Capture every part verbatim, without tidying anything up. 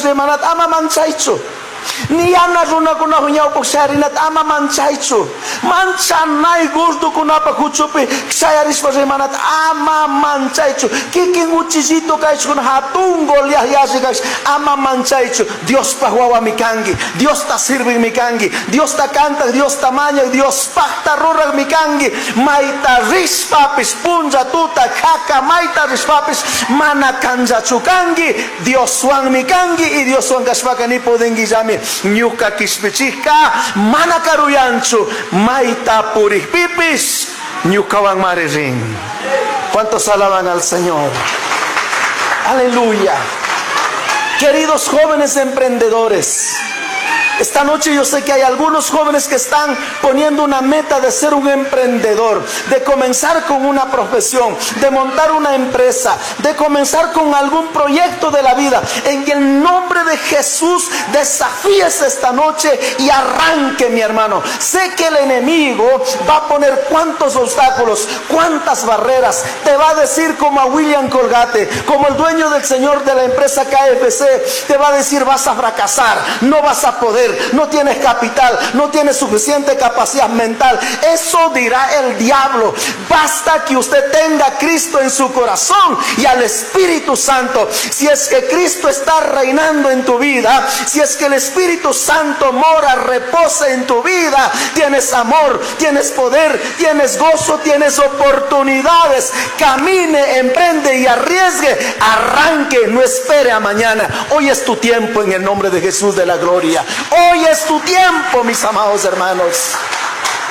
rimanata ama manchaychu. Ni yana runakunapa ñawpaq shayarinata ama manchaychu. Manchanay gordokunapa huchupi shayarishpa rimanata ama manchaychu. Kikin uchillito kaychukuna hatun Goliat yalli kash ama manchaychu. Diospaq wawami kanki, Diosta sirvigmi kanki, Diosta kantaq, Diosta mañaq, Diospaqta ruraqmi kanki. Mayta rishpapis punlla tuta haka mayta rishpapis mana kanllachu kanki. Dioswanmi kanki y Dioswan kashpaka ni pudinguillami. Ñuka kishpichijka mana karuyanchu, mayta purikpipis ñukawan mari rin. ¿Cuántos alaban al Señor? Aleluya. Queridos jóvenes emprendedores, esta noche yo sé que hay algunos jóvenes que están poniendo una meta de ser un emprendedor, de comenzar con una profesión, de montar una empresa, de comenzar con algún proyecto de la vida. En el nombre de Jesús, desafíese esta noche y arranque, mi hermano. Sé que el enemigo va a poner cuántos obstáculos, cuántas barreras. Te va a decir como a William Colgate, como el dueño del señor de la empresa K F C, te va a decir: vas a fracasar, no vas a poder, no tienes capital, no tienes suficiente capacidad mental. Eso dirá el diablo. Basta que usted tenga a Cristo en su corazón y al Espíritu Santo. Si es que Cristo está reinando en tu vida, si es que el Espíritu Santo mora, reposa en tu vida, tienes amor, tienes poder, tienes gozo, tienes oportunidades. Camine, emprende y arriesgue. Arranque, no espere a mañana. Hoy es tu tiempo en el nombre de Jesús de la gloria. Hoy es tu tiempo, mis amados hermanos.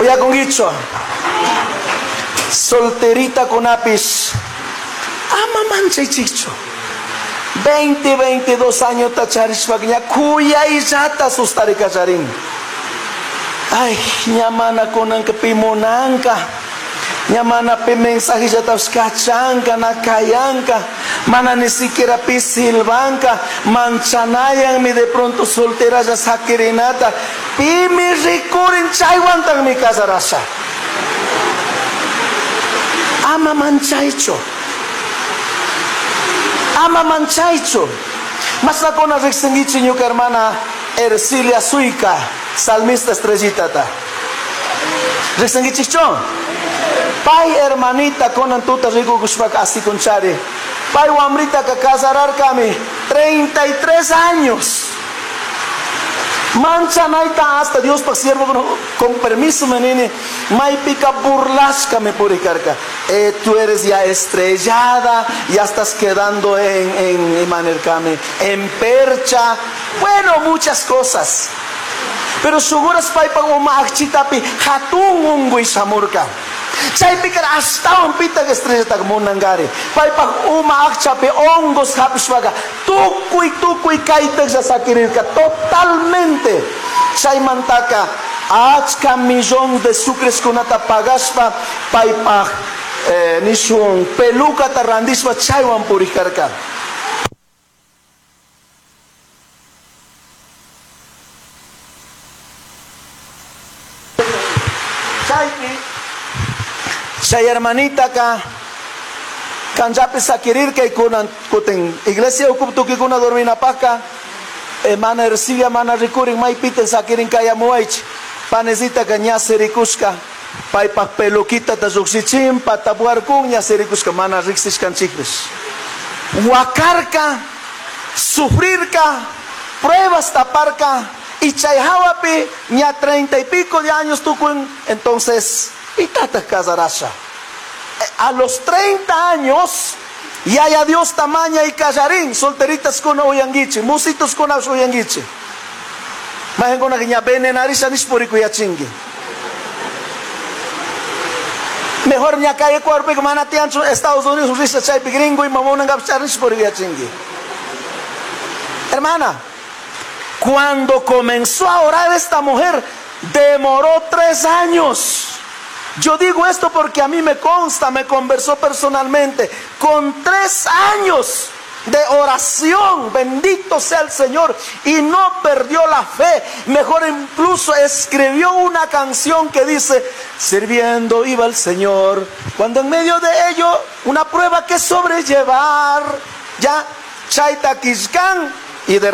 Oye, con dicho, solterita con apis, ama mancha y chicho. veinte, veintidós años tacharishpakña, kuya y yata sustaricacharín. Ay, ñamana konanka pimonanka. Ñamana pi mensaje ya kachanka, nakayanka, mana ni siquiera pi silbanka, manchanayan mi de pronto soltera ya sakirinata, pi mi rikurin chaywantan mi casarasha. Ama manchaicho. Ama manchaicho. Masakona riksingichi ñuka hermana Ercilia Suica, salmista estrellitata. Riksingichichon. Pai hermanita konan tuta rikukushpaka así con chari. Pai wamrita ka casararkami treinta y tres años. Mancha naita hasta Dios pa siervo con, con permiso menini. Maipika burlashka me puricarka. Eh, tú eres ya estrellada, ya estás quedando en, en, en manerkame, en percha. Bueno, muchas cosas. Pero suguras paipa uma akchitapi hatun ungui samurka. Chaypika astawan pitaq estrellataqa munangari. Paypaq uma aqchapi hongos hapishpaqa tukuy tukuy kaytaqlla sakirirqa totalmente. Chaymantaka achka millón de sucreskunata pagashpa paypaq, eh, nishun pelukata randishpa chaywan purikarqa. Chaypi chay hermanita ka kanchapi sakirirka y kunan kutin iglesia ukuptukikuna dorminapaka, hermana Ercilia mana rikurin maypiten sakirin kayamuaychi panecita ka ña sirikushka paypaq peluquita ta lluqshichin patapuarkun ña sirikushka mana riqsishkanchikpish. Wakarka, sufrirka, pruebas taparka y chay hawapi ña treinta y pico de años tukun, entonces pitata casarasha. A los treinta años ya ya Dios tamaña y callarín, solteritas con oyanguichi, musitos con oyanguichi. Majen con ña venenarisha nishpuriku ya chingui. Mejor ña calle cuerpo que manatiancho Estados Unidos risa chaypi gringo y mamona ngapchar nishpuriku ya chingui. Hermana, cuando comenzó a orar esta mujer, demoró tres años. Yo digo esto porque a mí me consta, me conversó personalmente. Con tres años de oración, bendito sea el Señor, y no perdió la fe. Mejor incluso escribió una canción que dice: sirviendo iba el Señor, cuando en medio de ello una prueba que sobrellevar. Ya, Chaita Quiscán, y de